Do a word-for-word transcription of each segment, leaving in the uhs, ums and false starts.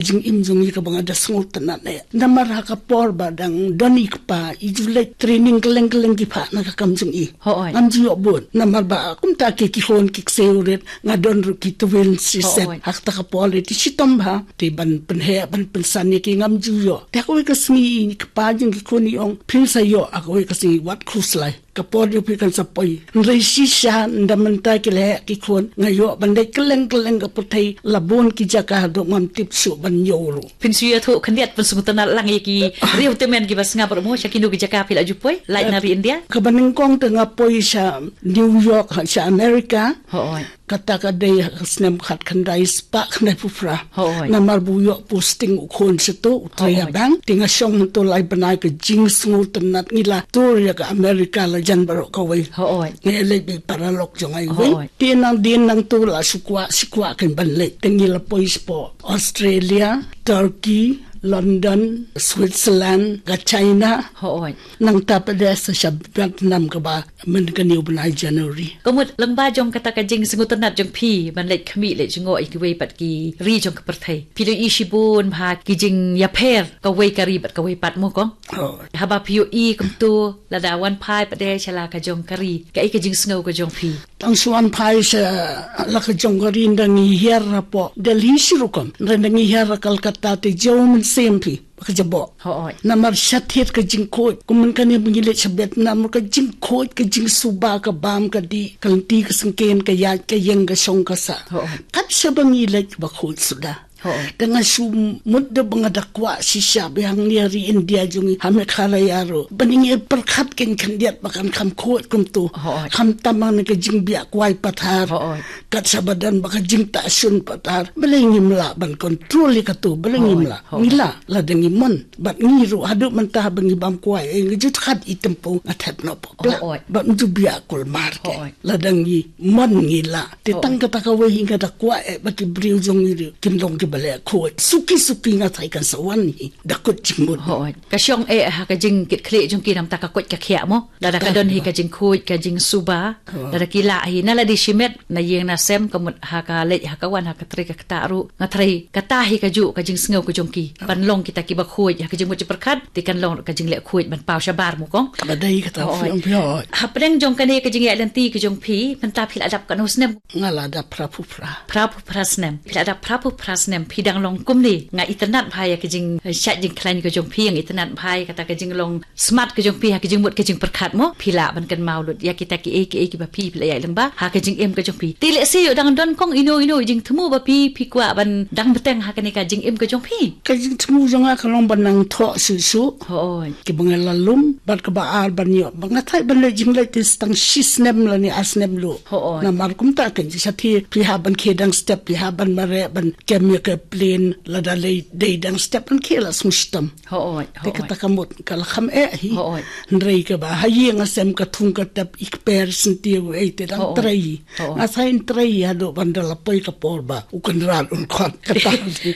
Jingim jong i kaba nga da sngewtynnat eh. Namar ha ka por ba dang don i kpa, i ju leit training kylleng kylleng ki phah na ka kam jong i. Hooid. Ngam ju ïoh bun. Namar ba kumta ki ki khun ki ksiew rit, nga don ruh ki twin, shi set. Hooid. Ha kata ka por leit i shitom bha. Te ban pynheh ban pynsan ïa ki ngam ju ïoh. Te ha kawei ka sngi i kpa jong ki khun i ong, phin sa ïoh ha kawei ka sngi, wat khuslai. Ka por jong phi kan sa poi. Hynrei shisha ynda mynta ki la heh ki khun, nga ïoh ban leit kylleng kylleng ka pyrthei, la bun ki jaka haduh ngam tip shuh ban ïoh ruh. Phin shu ïathuh khyndiat, pynsngewtynnat lang ïa ki riew tymmen kiba sngap ruh mo, sha kino ki jaka phi la ju poi, lait na ri India? Kaba nyngkong te nga poi sha New York, sha America. Hooid. Kata ka dei ha ka snem khatkhyndai spah khyndaiphew phra. Hooid. Namar ba u ïoh posting u khun shato, u trei ha bank. Te nga shong hangto lai bnai, ka jingsngewtynnat, ngi la tour ïa ka America la jan baroh kawei. Hooid. Nga ïaleit bad i paralok jong nga iwei. Hooid. Te nangdien nangto la shu kwah shu kwah kein ban leit. Te ngi la poi shapoh Australia, Turkey, London, Switzerland, ka China. Hooid. Nangta pat de sa sha Vietnam kaba mynta kane u bnai January. Ka mut lyngba jong kata ka jingsngewtynnat jong phi ban leit khmih leit jngoh ïa kiwei pat ki ri jong ka pyrthei, phi la ïohi shibun bha ki jingïapher kawei ka ri bad kawei pat mo kong. Oh. Haba phi ïohi kumto, lada wan phai pat de sha la ka jong ka ri, kaei ka jingsngew ka jong phi? Tang shu wan phai sha la ka jong ka ri, ynda ngi hiar hapoh Delhi shi rukom, ynda ngi hiar ha Kolkata te jew mynsiem phi. Ka jaboh. Hooid. Namar sha thied ka jingkhuid. Kum mynta kane ba ngi leit sha Vietnam, ka jingkhuid, ka jingsuba, ka bam, ka dih, ka lynti, ka syngkien, ka ïaid, ka ïeng, ka shong, ka sah. Hooid. Kat shaba ngi leit ba khuid suda. Hooid. Te nga shu mut da ba nga da kwah shisha ba hangne ha ri India jong ngi, ha Meghalaya ruh, ba ngi pyrkhat kein khyndiat ba kan kham khuid kumto. Hooid. Khamtam hangne ka jingbiah kwai pathar. Hooid. Kat shaba don ba ka jingtah shun pathar. Balei ngim lah ban control ïa kato, balei ngim lah? Hooid. Ngi lah, lada ngi mon. Bad ngi ruh haduh mynta ba ngi bam kwai, eh, ngi ju khad i tympu, nga thep noh pop. Hooid. Bad ngi ju biah kulmar kein. Hooid. Lada ngi mon ngi lah. Te tang kata kawei hi nga da kwah eh ba ki briew jong ngi ruh kin long kiba leh khuid. Suki suki nga tharai kan sa wan hi da kut jingmut. Hooid. Ka shong eh ha ka jingkitkhlieh jong ki namar ka koit ka khiah mo. Lada ka don hi ka jingkhuid, ka jingsuba. Hooid. Lada ki lah hi, na lade shimet, na ïing na sem, ka mut ha ka leit ha ka wan, ha ka trei ka ktah ruh. Nga tharai kata hi kajuh ka jingsngew ka jong ki. Ban long kita kiba khuid ha ka jingmut jingpyrkhat, te kan long ka jingleh khuid ban paw shabar mo kong. Ba dei kata. Hooid. Phi ong phi ong. Hapdeng jong kane ka jingïaid lynti ka jong phi, mynta phi la dap katno snem? Nga la dap phraphew phra. Phraphew phra snem. Phi la dap phraphew phra snem, phi dang long kumne. Nga itynnad bha ïa ka jingshait jingkhlaiñ ka jong phi, nga itynnad bha ïa kata ka jinglong smat ka jong phi ha ka jingmut ka jingpyrkhat mo, phi lah ban kynmaw lut ïa kita kiei kiei kiba phi, phi la ïaid lyngba ha ka jingim ka jong phi. Te lehse ïoh dang don kong ino ino i jingthmu ba phi, phi kwah ban dang bteng ha kane ka jingim ka jong phi? Ka jingthmu jong nga ka long ban nang thoh shuh shuh. Hooid. Kiba nga la lum, bad kaba ar ban ïoh. Ba nga tharai ban leit jingleit te tang shi snem lane ar snem ruh. Hooid. Namar kumta kein shatei phi hap ban khie dang step, phi hap ban mareh ban kem ïa ka plane, lada lei dei dang step ban khie la sngewshitom. Hooid, hooid. Te kata ka mut ka la kham eh hi. Hooid. Hynrei kaba ha ïing ha sem ka thung ka tep, i kper syntiew ei te dang trei. Hooid. Nga sa ïeng trei haduh ban da la poi ka por ba u Kynrad un khot kata.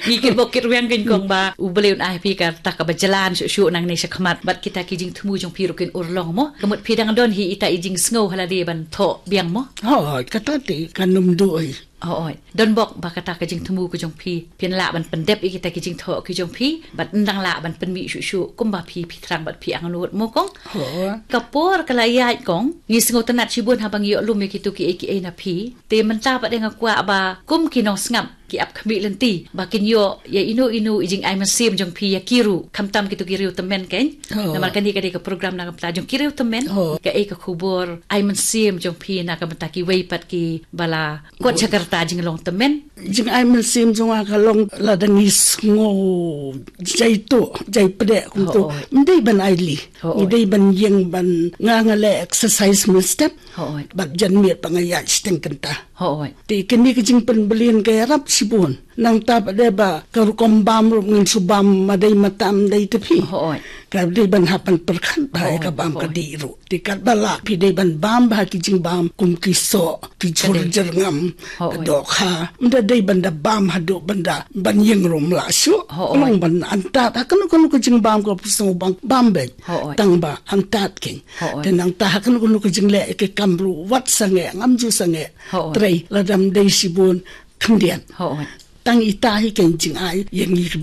Ngi kyrpad kyrwiang kein kong ba U Blei un ai phi kata kaba jlan shuh shuh nangne shakhmat bad kita ki jingthmu jong phi ruh kin urlong mo. Ka mut phi dang don hi ita i jingsngew ha lade ban thoh biang mo. Hooid, kata te kan ym duh hi. Hooid. Don bok ba kata ka jingthmu ka jong phi, phin lah ban pyndep ïa kita ki jingthoh ki jong phi, bad ym dang lah ban pynmih shuh shuh kumba phi, phi thrang bad phi angnud mo kong. Hooid. Ka por ka la ïaid kong, ngi sngewtynnat shibun haba ngi ïoh lum ïa kito kiei kiei na phi. Te mynta pat de nga kwah ba kum ki nongsngap, ki ap khmih lynti ba kin ïoh ïa ino ino i jingai mynsiem jong phi ïa ki ruh, khamtam kito ki riew tymmen kein. Oh. Namar kane ka dei ka program na ka bynta jong ki riew tymmen. Oh. Kaei ka khubor ai mynsiem jong phi na ka bynta kiwei pat kiba la kot sha ka rta jinglong tymmen? Jingai mynsiem jong nga ka long lada ngi sngew jai tuh jai pdeh kumto. Oh, oh. Ym dei ban ai lih. Oh, oh. Ngi dei ban ïeng ban, nga nga leh exercise mynstep. Hooid. Bad janmiet pat nga ïaid shiteng kynta. Hooid. Te kane ka jingpynbeit ka ïarap shibun. Nangta pat de ba ka rukom bam ruh ngin shu bam ma dei ma tam dei te phi. Hooid. Ka dei ban hap ban pyrkhat bha ïa ka bam ka dih ruh. Te katba lah phi dei ban bam bha ki jingbam kum ki soh, ki jhur jyrngam, ka dohkha. Ym da dei ban da bam haduh ban da ban ïeng ruh ym lah shuh. Hooid. Long ban antad ha kano kano ka jingbam ka phi sngew bam, bam beit. Hooid. Tang ba antad kein. Hooid. Te nangta ha kano kano ka jingleh ïa ki kam ruh wat sangeh, ngam ju sangeh. Hooid. Trei lada ym dei shibun khyndiat. Hooid. tang ita hi ka jingai ïa ngi ki